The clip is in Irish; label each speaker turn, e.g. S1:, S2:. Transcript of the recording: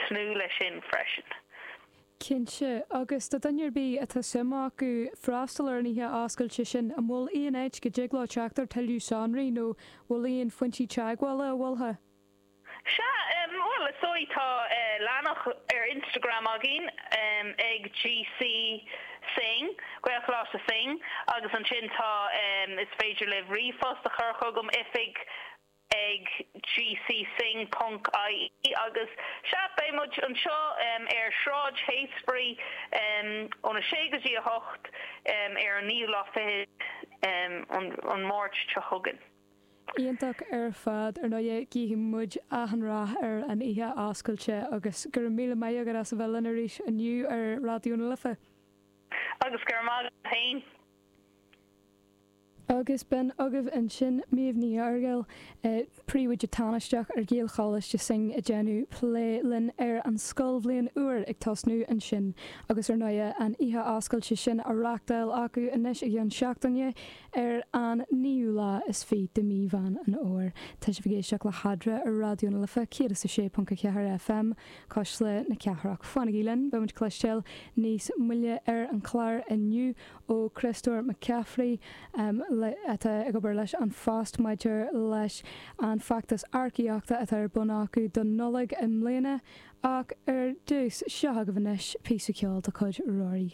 S1: tnúth leis sin freisin.
S2: Cinnte, agus do dhuine ar bith atá suim acu freastal ar an oíche oscailte sin, an bhfuil aon áit go dtig leo teacht ar tuilleadh sonraí nó bhfuil aon phointí teagmhála a mholfá?
S1: Sea, bhuel, is dóigh tá leathanach ar Instagram againn ag GC Synge, Gaelcholáiste Synge, agus ansin tá, is féidir libh ríomhphost a chur chugam, oifig ag gcsynge ponc ie agus sea, beidh muid anseo ar Shráid Heytesbury óna sé go dtí a hocht ar an naoú lá fichead an Mháirt seo chugainn.
S2: Iontach ar fad. Ar ndóigh, guífidh muid achan rath ar an oíche oscailte agus go raibh míle maith agat as a bheith linn arís inniu ar Raidió na Life.
S1: Agus go raibh maith agat féin.
S2: Agus b'in agaibh ansin Méabh Ní Fhearghail, Príomhoide Tánaisteach ar Ghaelcholáiste Synge ag déanamh plé linn ar an scoilbhliain úr ag tosnú ansin agus ar ndóighe an oíche oscailte sin á reachtáil acu anois i gceann seachtaine ar an naoú lá is fiche de mhí Mheán an Fhómhair. Tá sibh ag éisteacht le hEadra ar Raidió na Life 106.4 FM, Cuisle na Cathrach. Fanaigí linn, beidh muid ag cloisteáil níos moille ar an chlár inniu ó Chriostóir Mac Cafraidh, atá ag obair leis An Phost maidir leis an bhfeachtas earcaíochta atá ar bun acu don Nollaig i mbliana. Ach ar dtús, seo agaibh anois píosa ceoil de chuid Rory.